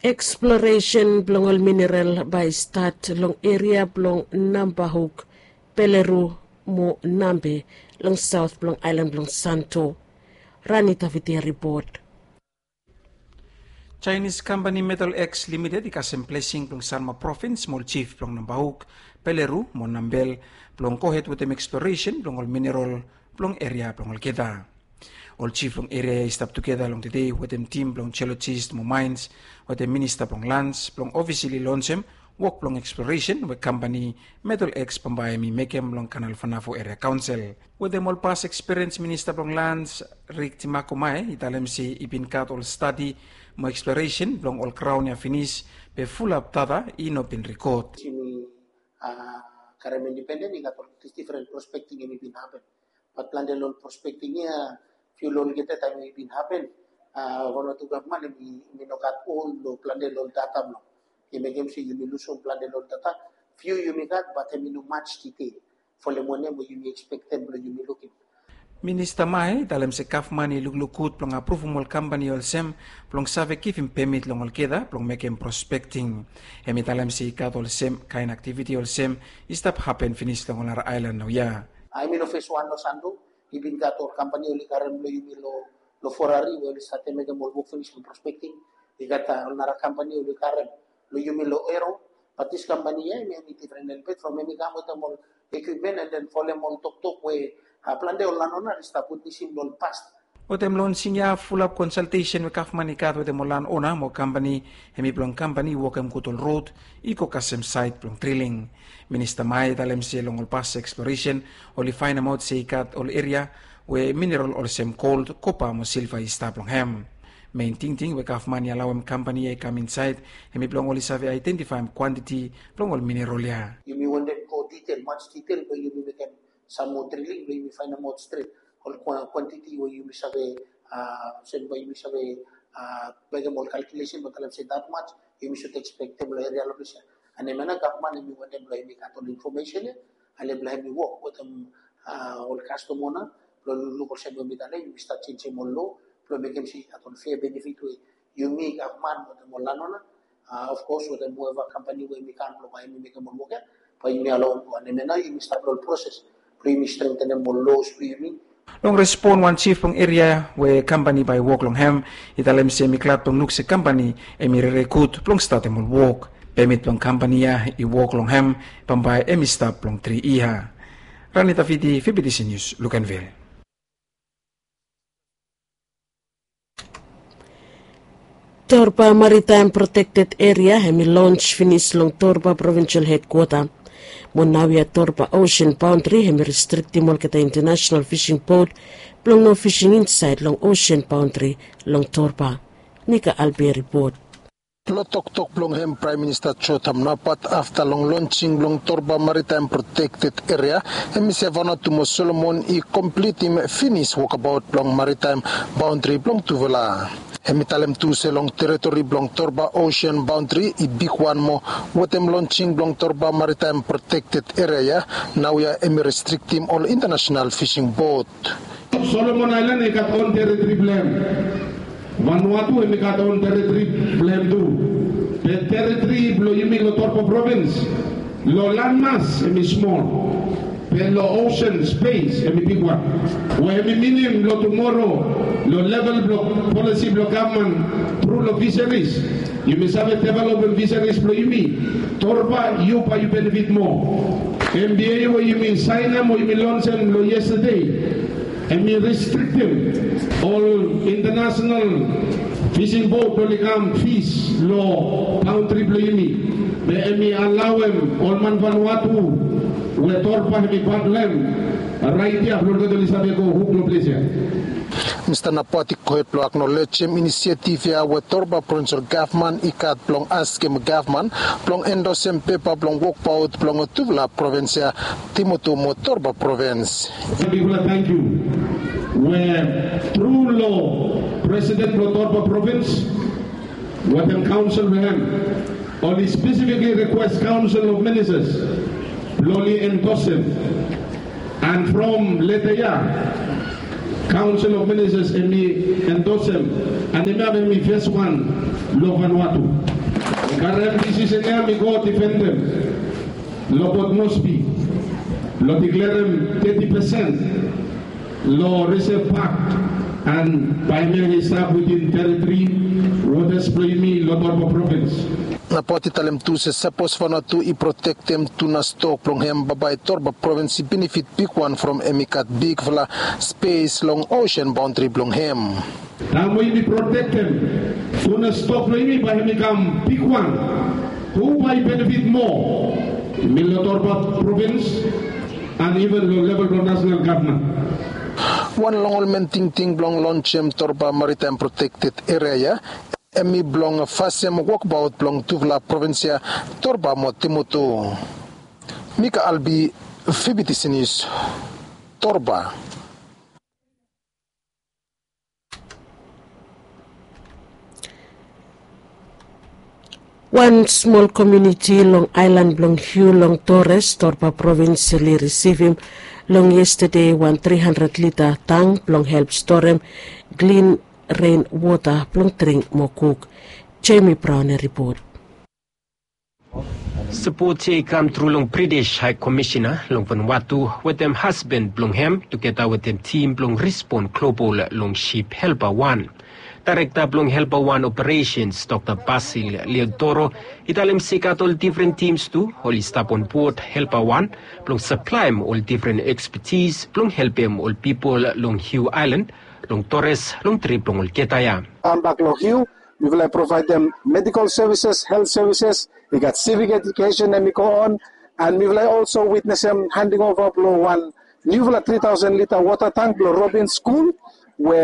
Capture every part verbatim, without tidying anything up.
Eksploresen blong ol mineral bae i stat long eria blong Nambahuk, Peleru mo Nambe long saot blong aelan blong Santo. Rani Taviti ripot. Chinese company Metal X Limited i kasem blesing blong Sanma provins mo ol jif blong Nambahuk, Peleru mo Nambel blong gohed wetem eksploresen blong ol mineral blong eria blong olgeta. Ol jif long eria ya i stap tugeta long tede wetem tim blong jeolojis mo maens wetem minista blong lans blong ofisili lonsem wok blong eksploresen we kampani Metal X bambae hem i mekem long Kanal Fanafo Eria Kaonsel. Wetem ol pas ekspiriens minista blong lans Rik Timakomae i talem se i bin gat ol stadi mo eksploresen blong ol graon ya finis be fulap data i no bin rikod. Yumi karem indipenden i gat ol difren prospekting hem i bin hapen. Bat plante long prospekting ya fiu long olgeta taem i bin hapen, wan o tu gavman hem i no gat ol long plante long data blong i mekem se yumi lusum plante long data. Fiu yumi gat bat hem i no mats ditel folem wanem we yumi ekspektem blong yumi lukim. Minista Mae i talem se gavman i lukluk gud blong apruvum ol kampani olsem blong save givim pemit long olgeta blong mekem prospekting. Hem i talem se i gat ol sem kaen aktiviti olsem i stap hapen finis long ol nara aelan naoia. Hem i no fes wan long Santo, i bin gat ol kampani oli karem long yumi long Ferrari we oli save mekem ol wok finis long prospekting. I gat ol nara kampani oli karem long yumi long Ero. Bat dis kampani ya hem i difren elbet from hem i kam wetem ol ekwipmen and then folem ol toktok we plante ol lanona oli stap witnesim long ol past. Wetem lonsing ya fulap konsaltesen we gavman i gat wetem ol lanona mo kampani hem i blong kampani i wokem gud ol rod i go kasem saet blong driling. Minista Mae i talem se long ol pas eksploresen oli faenemaot se i gat ol eria we mineral olsem gol, kopa mo silva i stap long hem. Mein tingting we gavman i alaoem kampani ya i kam insaed hem i blong oli save aedentifaem kwantiti blong ol mineral ya. Yumi wantem go ditel mats ditel we yumi mekem sam moa driling blong yumi faenemaot stret ol kwantiti we yumi save, olsem bae yumi save mekem ol kalkulesen bae talem se dat mats yumi sud ekspektem long eria long ples ya. And hem ya nao gavman hem i wantem blong hem i gat ol infomesen ya. Ale blong hem i wok wetem ol kastom ona blong lukluk olsem we mi talem yumi stat jenjem ol loa blong mekem se i gat ol fea benefit we yumi gavman wetem ol lanona, of kos wetem hueva kampani we yumi kam blong bae yumi mekem ol wok ya bae yumi alaoem go. And hem ya nao yumi stap long ol proses blong yumi strengtenem ol loas blong yumi. Long respon wan jif blong eria we kampani bae i wok long hem i talem se hem i glad blong luk se kampani hem i rere gud blong statem ol wok. Pemit blong kampani ya i wok long hem bambae hem i stap blong tri yia. Rani Taviti, Fibitisi Nius, Luganville. Torba Maritaem Protekted Eria hem i lons finis long Torba Provinsel Hedkwota. Mo naoia Torba Osen Baondri hem i restriktim olgeta intanasenal fising bot blong no fising insaed long osen baondri long Torba. Nika Albi ripot. Long toktok blong hem Praem Minista Jotam Napat afta long lonsing blong Torba Maritaem Protekted Eria hem i se Vanuatu mo Solomon i komplitim finis wokabaot blong maritaem baondri blong tufala. Hem i talem tu se long teritori blong Torba Osen Baondri i bigwan moa wetem lonsing blong Torba Maritaem Protekted Eria ya. Naoia hem i restriktim ol intanasenal fising bot. Solomon Aelan i gat on teritori blong hem. Vanuatu hem i gat on teritori blong hem tu. Be teritori blong yumi long Torba Provins long lanmas hem i smol. Be long osen spes hem i bigwan. We hem i minim long tumoro long level blong polisi blong gavman tru long fisaris yumi save developem fisaris blong yumi. Torba yu bae yu benefit moa. Em bi ya we yumi saenem o yumi lonsem long yestade. Em i restriktem ol intanasenal fising bot oli kam fis long baondri blong yumi. Be em i alaoem ol man Vanuatu we Torba hem i pat blong hem raet ya blong olgeta oli save go huk long ples ya. Mista Napat i gohed blong aknolejem inisiativ ya we Torba Provinsel Gavman i gat blong askem gavman blong endosem pepa blong wokbaot blong tufala provins ya, Timoto mo Torba Provins. Bigfala tangkiu we tru long Presiden blong Torba Provins wetem kaonsel blong hem oli spesifikli rikwes Kaonsel of Ministas blong oli endosem. And from leta ya Council of Ministers hemi endosem, and hemia hemi fes wan long Vanuatu. Mi karem disisen ya mi go difendem long Port Moresby long diklerem teti pesen long Reserve Park, and bae hemia i stap within teritori wotas blong yumi long Torba provins. Nabaot i talem tu se sapos Vanuatu i protektem tuna stok blong hem, bambae Torba provins i benefit bigwan from hemi gat bigfala spes long osen baondri blong hem. Taem we yumi protektem tuna stok blong yumi, bae hemi kam bigwan. Hu bae i benefit moa? Yumi long Torba provins and even long level blong nasonal gavman. Wan long ol men tingting blong lonsem Torba Maritime Protected Area ya hemi blong fasem wokbaot blong tufala provins ya, Torba mo Timutu. Mika Albi, Fibitisi Nius, Torba. Wan smol komuniti long aelan blong Hiu long Torres, Torba provins, oli risivim long yestade wan tri handred lita tang blong help storem klin ren wota blong dring mo kuk. Jamie Brown i ripot. Sapot ya i kam tru long British High Commissioner long Vanuatu wetem hasban blong hem tugeta wetem tim blong Respond Global long sip Helper Wan. Daerekta blong Helper Wan Operations, Dokta Basil Leodoro, i talem se i gat ol difren tims tu oli stap onbod Helper Wan blong saplaem ol difren ekspetis blong helpem ol pipol long Hiu Aelan, long Torres, long trip blong olgeta ya. Kambak long Hiu, mifala i provaedem medical services, health services, i gat civic education hemi go on, and mifala i also witnesem handing over blong wan niufala tri taosen lita wota tang blong Robin School, we,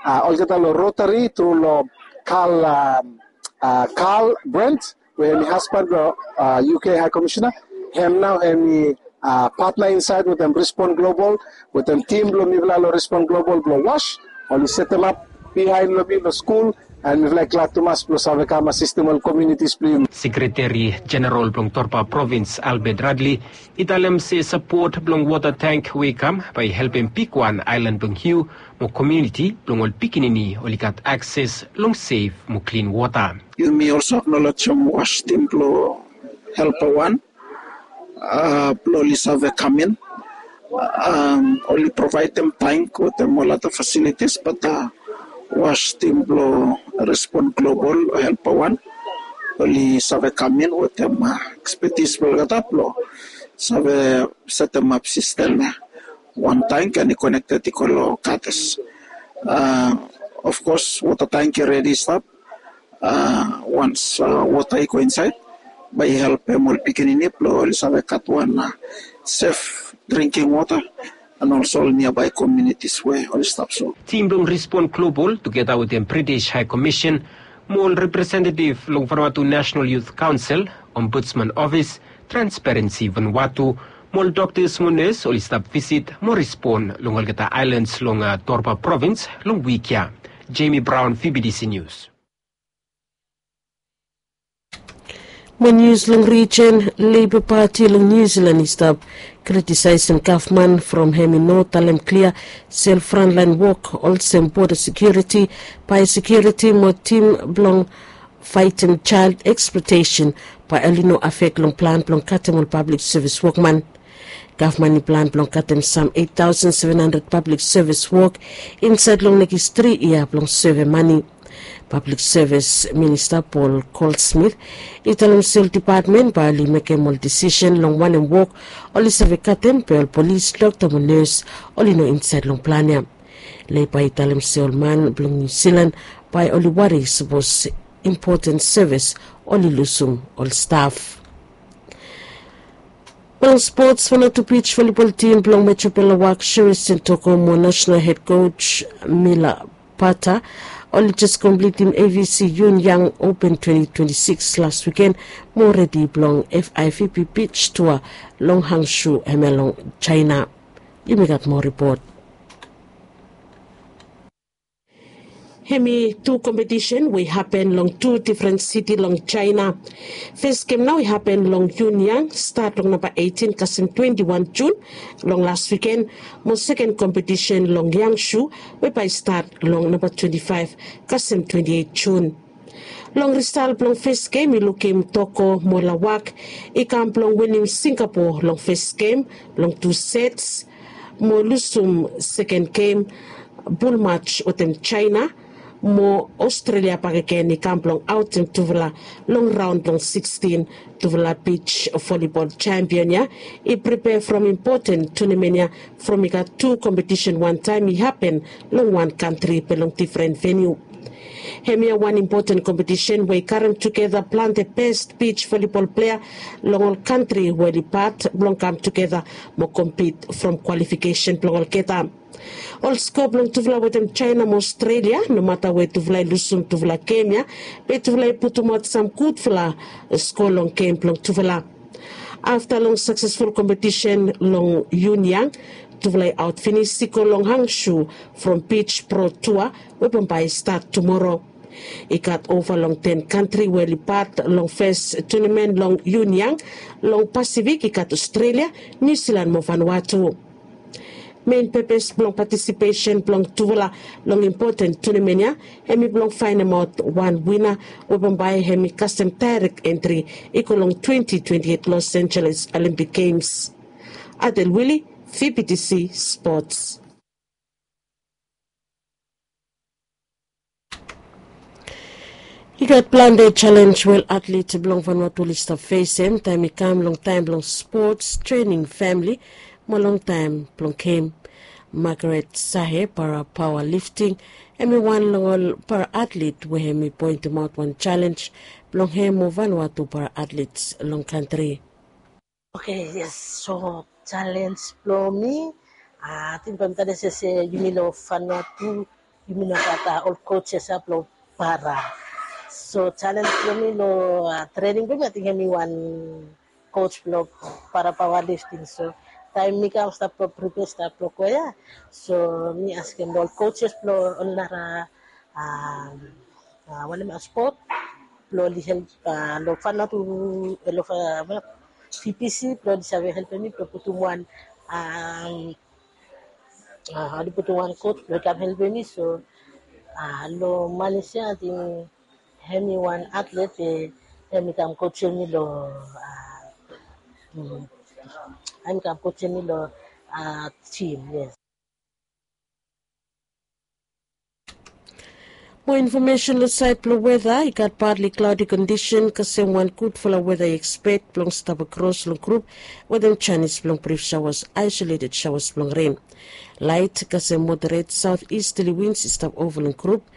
ah, olgeta long Rotary tru long Carl, um, ah, Carl Brent, we hemi hasban blong, ah, U K High Commissioner, hem nao hemi, ah, patna insaed wetem Respond Global, wetem tim blong mifala long Respond Global blong WASH, oli setemap bihaen long mi long skul, and mifala i glad tumas blong save kam asistem ol komunitis blong yumi. Sekreteri Jeneral blong Torba Provins, Albert Radley, i talem se sapot blong wota tang we i kam bae i helpem bigwan aelan blong Hiu mo komuniti blong ol pikinini oli gat akses long sef mo klin wota. Yumi also aknolejem WASH tim blong Helper Wan, ah, blong oli save kam in. Am, oli provaedem tang wetem ol ada fasilitis, bat, ah, WASH tim blong Respond Global, Helper Wan, oli save kam in wetem, ah, ekspetis blong olgeta blong save setemap sistem ya. Wan tang and i konekted i go long Kates. Ah, of course, wota tang i redi stap. Ah, once, ah, wota i go insaed, bae i helpem ol pikinini blong oli save gat wan, ah, sef drinking wota, and also ol niabae komunitis we oli stap so. Tim blong Respond Global tugeta wetem British High Commission mo ol representetiv long Vanuatu National Youth Council, Ombudsman Office, Transparency Vanuatu, mo ol doktas mo nes oli stap visit mo respon long olgeta aelans long, ah, Torba Provins long wik ya. Jamie Brown, Fibitisi Nius. Mo nius long rijen, Labour Party long Niu Silan i stap kritisaesem gavman from hem i no talem klia se ol frontlaen wok olsem boda sekiuriti, bae sekiuriti mo tim blong faetem jael eksploetesen bae oli no afek long plan blong katem ol pablik sevis wokman. Gavman i plan blong katem sam eit taosen seven handred pablik sevis wok insaed long nekis tri yia blong seve mane. Pablik Sevis Minista Paul Goldsmith i talem se ol depatmen bae oli mekem ol disisen long wanem wok oli save katem be ol polis, dokta mo nes oli no insaed long plan ya. Leiba i talem se ol man blong Niu Silan bae oli wari sapos impoten sevis oli lusum ol staf. Blong spots, Vanuatu beach volleyball tim blong Metro Pella Wak, Sherry Sentoko mo national head coach Mila Pata oli jes komplitim A V C Yun Yang Open twenty twenty-six las wiken mo redi blong F I V B beach tour long Hangzhou hemia long China. Yumi gat moa ripot. Hem i tu kompetisen we i hapen long tu difren siti long Jaena. Fes gem nao i hapen long Yuniyang, stat long namba etin kasem twenti wan Jun long las wiken, mo seken kompetisen long Yangshu we bae i stat long namba twenti faef kasem twenti eit Jun. Long risal blong fes gem i lukim Toko mo Lawak i kam blong winim Singapo long fes gem long tu sets, mo lusum seken gem, bulmaj wetem Jaena, mo Aostralia bakegen i kam blong aotem tufala long raon blong sikstin. Tufala bij volibol jampion ya i pripea from impoten tunamen ya from i gat tu kompetisen wantaem i hapen long wan kantri be long difren veniu. Hemia wan impoten kompetisen we i karem tugeta plante bes bij volibol plea long ol kantri we oli pat blong kam tugeta mo kompit from kwalifikesen blong olgeta. Ol skoa blong tufala wetem Jaena mo Aostralia, nomata we tufala i lusum tufala gem ya, be tufala i putumaot sam gudfala skoa long gem blong tufala. Afta long saksesful kompetisen long Yuniyang, tufala i aot finis i go long Hangshu from bij pro tua we bambae i stat tumoro. I gat ova long ten kantri we oli pat long fes tunamen long Yuniyang. Long Pasifik i gat Aostralia, Niu Silan mo Vanuatu. Mein pepes blong patisipesen blong tufala long impoten tunamen ya hem i blong faenemaot wan wina we bambae hem i kasem daerek entri i go long twenti twenti eit Los Angeles Olimpik Gems. Adel Wili, V B T C Spots. I gat plante jalenj we ol atlet blong Vanuatu oli stap fesem taem i kam long taem blong spots, trening famili, mo long taem blong gem. Margaret Sahe, para paoa lifting, hem i wan long ol para atlet we hem i poentemaot wan jalenj blong hem mo Vanuatu para atlet long kantri. Oke, yes. So jalenj blong mi, ating bae mi tale se se yumi long Vanuatu yumi no gat ol kojes ya blong para. So jalenj blong mi long trening blong mi ating hem i wan koj blong para paoa lifting. So taem mi kam stap blong pripea stap blong go ya, so mi askem long ol kojes blong ol nara wanem, spot blong oli help long Vanuatu, long V B C blong oli save helpem mi blong putum wan, oli putum wan koj blong i kam helpem mi. So long Malaysia ating hem i wan atlet we hem i kam kojem mi long, hem i kam kojem mi long jim, yes. Moa infomesen long saed blong weta, i gat partly cloudy kondisen kasem wan gudfala weta i ekspek blong stap akros long grup wetem janis blong brif saoas, aisoleted saoas blong ren. Laet kasem moderet saot istali wins i stap ova long grup.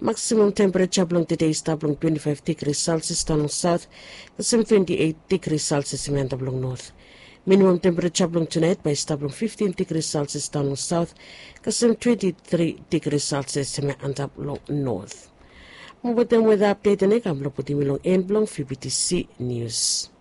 Maksimam tempereja blong tede i stap long twenti faef digri selsias daon long saot, kasem twenti eit digri selsias hem i antap long not. Minimam tempereja blong tunaet bae i stap long fiftin digri selsias daon long saot, kasem twenti tri digri selsias hem i antap long not. Mo wetem weta apdet ya i kam blong putum mi long en blong V B T C nius.